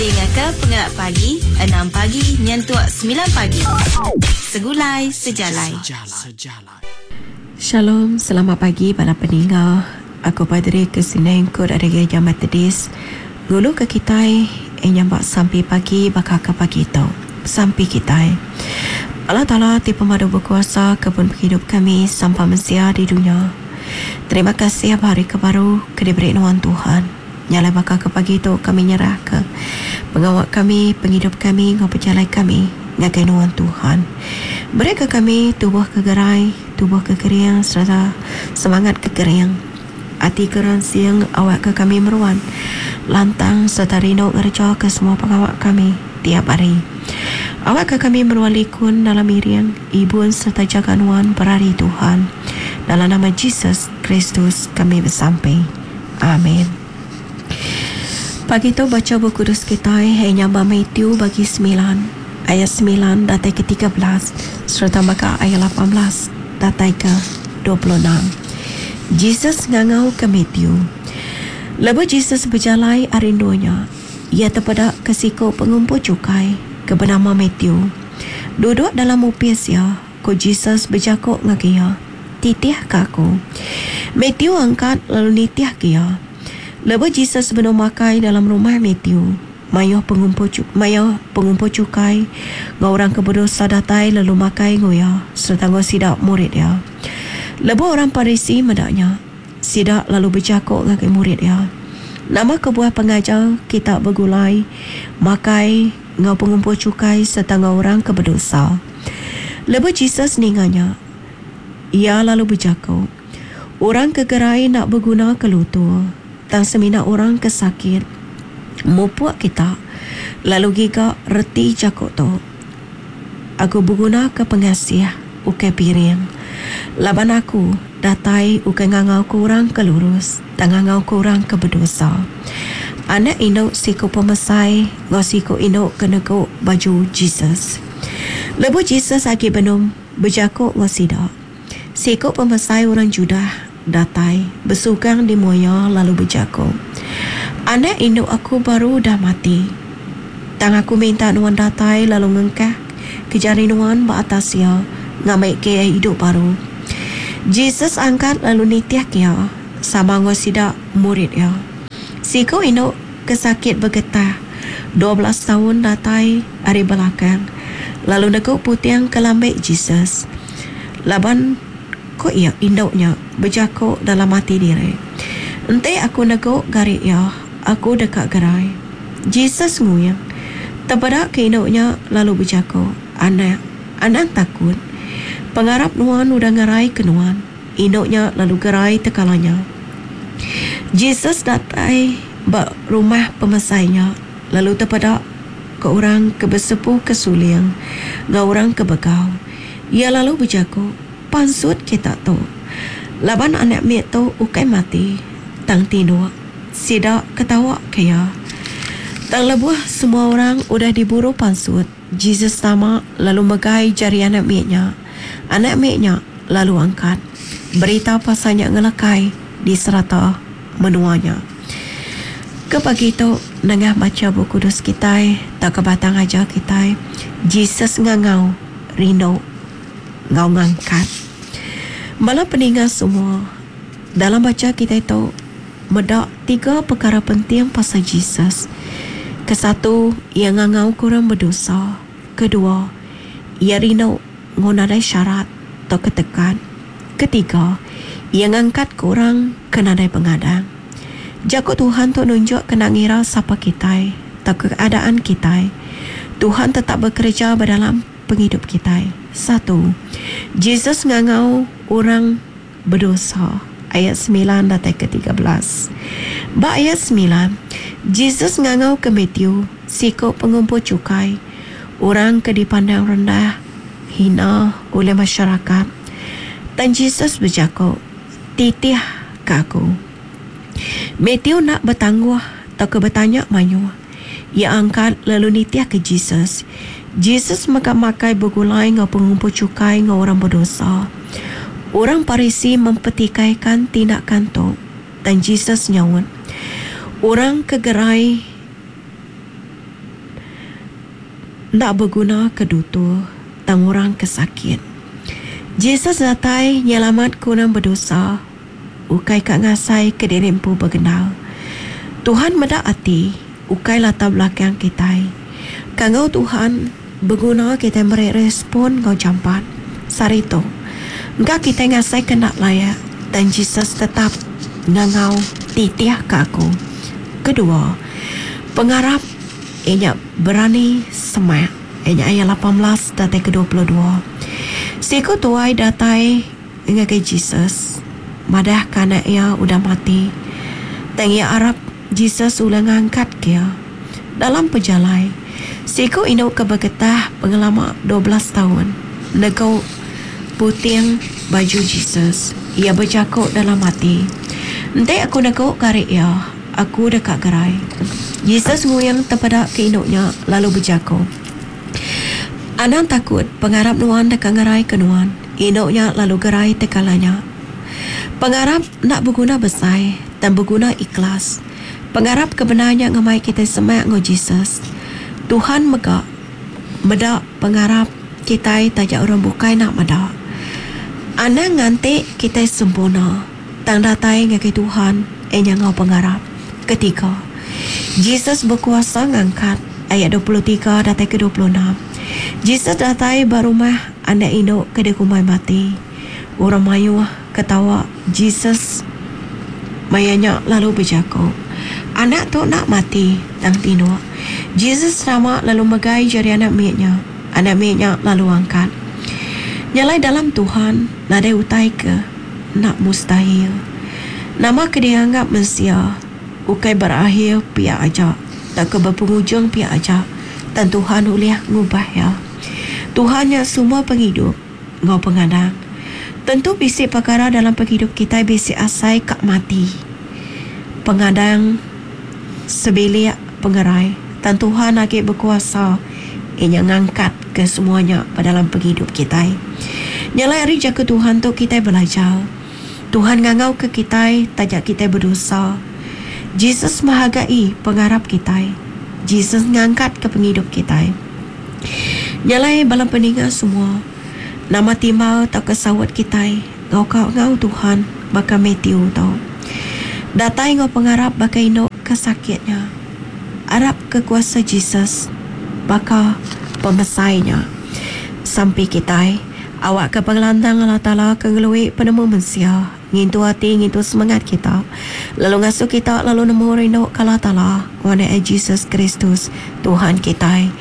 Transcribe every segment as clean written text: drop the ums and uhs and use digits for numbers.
Dingaka Pengelap Pagi, enam pagi nyentuk semilan pagi. Segulai Sejalai. Shalom, selamat pagi bala peninga. Aku Padri Christina Engkut ari Gereja Methodist. Ngulu ke kitai nyambak sampi pagi baka ke pagi tu. Sampi kitai. Allah Taala ti pemadu bekuasa kebun pengidup kami sampa mensia di dunya. Terima kasih ba hari ke baru ke diberi nuan Tuhan. Nya alai baka ke pagi tu kami nyerahka pengawa kami, pengidup kami enggau pejalai kami ngagai nuan Tuhan. Berika kami tubuh ke gerai, tubuh ke kering sereta semangat ke kering. Ati ke ransing awakka kami meruan lantang sereta rindu ngerejaka semua pengawa kami tiap hari. Awakka kami meruan likun dalam iring, ibun sereta jaga nuan berari Tuhan. Dalam nama Jesus Kristus kami besampi. Amin. Pagi tu bacha Bup Kudus kitai iya nya ba Matthew bagi semilan ayat semilan datai ke 13 sereta mega ayat 18 datai ke 26. Jesus ngangauka Matthew. Lebuh Jesus bejalai ari endur nya, iya tepedaka siku pengumpul chukai ke benama Matthew duduk dalam opis iya. Ku Jesus bejaku ngagai iya, Titihka aku. Matthew angkat lalu nitihka iya. Lebuh Jesus benung makai dalam rumah Matthew, mayuh pengumpul mayuh pengumpul chukai enggau orang ke bedosa datai lalu makai enggau iya sereta enggau sida murid iya. Lebuh orang Parisi meda nya, sida lalu bejaku ngagai murid iya, Nama kebuah pengajar kita begulai makai enggau pengumpul chukai sereta enggau orang ke bedosa? Lebuh Jesus ninga nya, iya lalu bejaku, Orang ke gerai enda begunaka lutur, tang semina orang ke sakit. Mupuk kita, lalu giga reti jaku tu, Aku begunaka pengasih, ukai piring. Laban aku datai ukai ngangauka orang ke lurus, tang ngangauka orang ke bedosa. Anak indu siku pemesai enggau siku indu ke negu baju Jesus. Lebuh Jesus agi benung bejaku enggau sida, siku pemesai orang Judah datai besugang di mua iya lalu bejaku, Anak indu aku baru udah mati. Tang aku minta nuan datai lalu ngengkah ke jari nuan ba atas iya ngambika iya idup baru. Jesus angkat lalu nitihka iya sama enggau sida murid iya. Siku indu ke sakit begetah 12 taun datai ari belakang lalu negu puting ke lambik Jesus. Laban, ku iya, indu nya bejaku dalam ati diri, Enti aku negu gari iya, aku deka gerai. Jesus nguing, tepeda ke indu nya lalu bejaku, Anak, anang takut. Pengarap nuan udah ngeraika nuan. Indu nya lalu gerai tekala nya. Jesus datai ba rumah pemesai nya lalu tepeda ka orang ke besepu ke suling enggau orang ke begau. Iya lalu bejaku, Pansut kita tu, laban anak mit tu ukai mati, tang tinduk. Sida ketawa ke iya. Tang lebuh semua orang udah diburu pansut, Jesus tama lalu megai jari anak mit nya. Anak mit nya lalu angkat. Berita pasal nya ngelekai di serata menua nya. Ke pagi tu, nengah macha Bup Kudus kitai tauka batang ajar kitai, Jesus ngangau, rindu enggau ngangkat. Bala peninga semua, dalam bacha kitai tu meda tiga pekara penting pasal Jesus. Kesatu, iya ngangauka orang bedosa. Kedua, iya rindu enggau nadai syarat tauka tekat. Ketiga, iya ngangkatka orang ke nadai pengadang. Jaku Tuhan tu nunjukka enda ngira sapa kitai tauka keadaan kitai, Tuhan tetap bekereja ba dalam pengidup kitai. Satu, Jesus ngangau orang bedosa, ayat semilan datai ke 13. Ba ayat semilan, Jesus ngangauka Matthew, siku pengumpul chukai, orang ke dipandang rendah, hina ulih masyarakat. Tang Jesus bejaku, Titih ka aku. Matthew enda betangguh tauka betanya mayuh. Iya angkat lalu nitihka Jesus. Jesus mega makai begulai enggau pengumpul chukai enggau orang bedosa. Orang Parisi mempertikaikan tindakan tu, tang Jesus nyaut, Orang ke gerai. enda beguna ke dutur tang orang ke sakit. Jesus datai nyelamat ke orang bedosa ukai ka ngasai ke diri empu begendar. Tuhan meda ati ukai latar belakang kitai. Kangau Tuhan beguna kitai meri respon enggau jampat. Sehari tu, engka kitai ngasai ke enda layak tang Jesus tetap ngangau titih ka aku. Kedua, pengarap iya nya berani semak iya nya ayat 18 datai ke 22. Siku tuai datai ngagai Jesus madahka anak iya udah mati. Tang iya arap Jesus ulih ngangkatka iya. Dalam pejalai, siku indu ke begetah pengelama 12 taun negu puting baju Jesus. Iya bejaku dalam ati, Enti aku negu gari iya, aku deka gerai. Jesus nguing tepeda ke indu nya lalu bejaku, Anang takut, pengarap nuan deka ngeraika nuan. Indu nya lalu gerai tekala nya. Pengarap enda beguna besai, tang beguna ikhlas. Pengarap ke bendar nya ngemai kitai semak enggau Jesus. Tuhan mega meda pengarap kitai taja orang bukai enda meda. Anang nganti kitai sempurna, tang datai ngagai Tuhan iya nya enggau pengarap. Ketiga, Jesus bekuasa ngangkat, ayat 23 datai ke 26. Jesus datai ba rumah anak indu ke dikumbai mati. Orang mayuh ketawa Jesus maya nya lalu bejaku, Anak tu enda mati, tang tinduk. Jesus tama lalu megai jari anak mit nya. Anak mit nya lalu angkat. Nya alai dalam Tuhan nadai utai ke enda mustahil. Nama ke dianggap mensia ukai berakhir pia aja tauka bepengujung pia aja, tang Tuhan ulih ngubah iya. Tuhan nya sumber pengidup enggau pengadang. Tentu bisi pekara dalam pengidup kitai bisi asai ka mati. Pengadang sebilik pengerai tang Tuhan agi bekuasa iya nya ngangkat ke semua nya ba dalam pengidup kitai. Nya alai ari jaku Tuhan tu kitai belajar. Tuhan ngangau ke kitai taja kitai bedosa. Jesus menghargai pengarap kitai. Jesus ngangkat ke pengidup kitai. Nya alai bala peninga semua, nama timbal tauka saut kitai enggau ka enggau Tuhan baka Matthew tu. Datai enggau pengarap baka indu ke sakit nya. Arap ke kuasa Jesus baka pemesai nya. Sampi kitai, awakka pengelantang Allah Taala ke ngelui penemu mensia, ngintu ati ngintu semengat kita, lalu ngasuh kita lalu nemu rindu ke Allah Taala enggau Anak Iya Jesus Kristus, Tuhan kitai.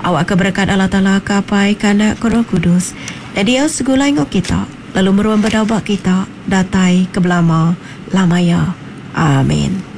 Awakka berekat Allah Taala ke Apai, ke Anak, ke Roh Kudus, diau segulai enggau kita, lalu meruan bedau ba kita datai ke belama lama iya. Amin.